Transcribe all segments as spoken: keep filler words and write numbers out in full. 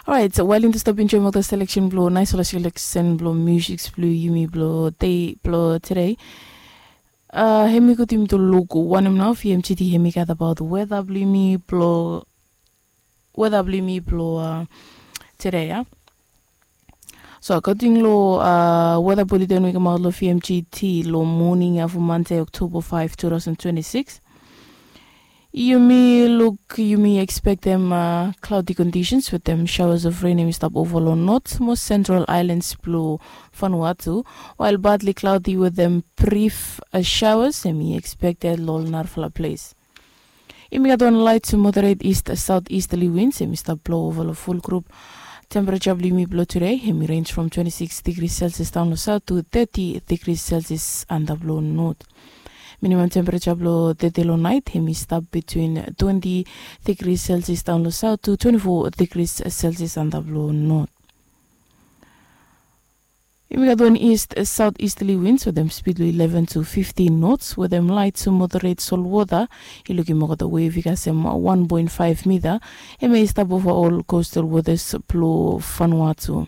Orait, wael yumi tu stap enjoim olgeta seleksen blong naisfala seleksen blong miusik blong yumi blong dei blong tede. Hem i gud yumi tu luk wanem nao vmgt hem i gat abaot weda blong yumi blong weda blong yumi blong tede ya. So akoding long weda buliten we i kamaot long vmgt long moning ya from mande oktoba five two thousand twenty-six, yumi luk yumi ekspektem klaudi kondisens wetem shawas of ren hem i stap ova long not mo sentral ailans blong fanua tu, wael badli klaudi wetem brif shawas hem i ekspekted long ol narafala ples. Yumi gat wan lait tu moderet ist saut istali wins hem i stap blou ova long ful grup. Tempereja blong yumi blong tude hem i renj from twenti siks digri selsias daun long saut tu teti digri selsias antap long not. Minimam tempereja blong tede long nait hem i stap bitwin twenti digri selsias daun long saut tu twenti fo digri selsias antap long not. Yumi gat wan ist saut istali wins wetem spid blong ileven tu fiftin nots wetem lait tu moderet solwota i lukim olgeta wev i kasem wan poen faef mita. Hem ya i stap ova ol kostal wotas blong fanua tu.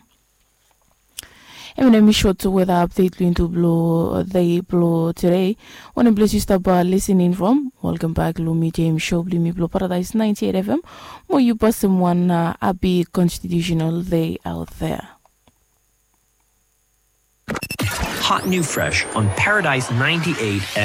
Hem ya hem i sot weta apdet blong yumi tu blong dei blong tude. Wanem ples yu stap lisening from, welkam bak long mi jeim sho blong yumi blong paradais ninety eight fm. Mo yu pasem wan hapi konstitiusenal dei aut thea. Hot new fresh on Paradise ninety-eight F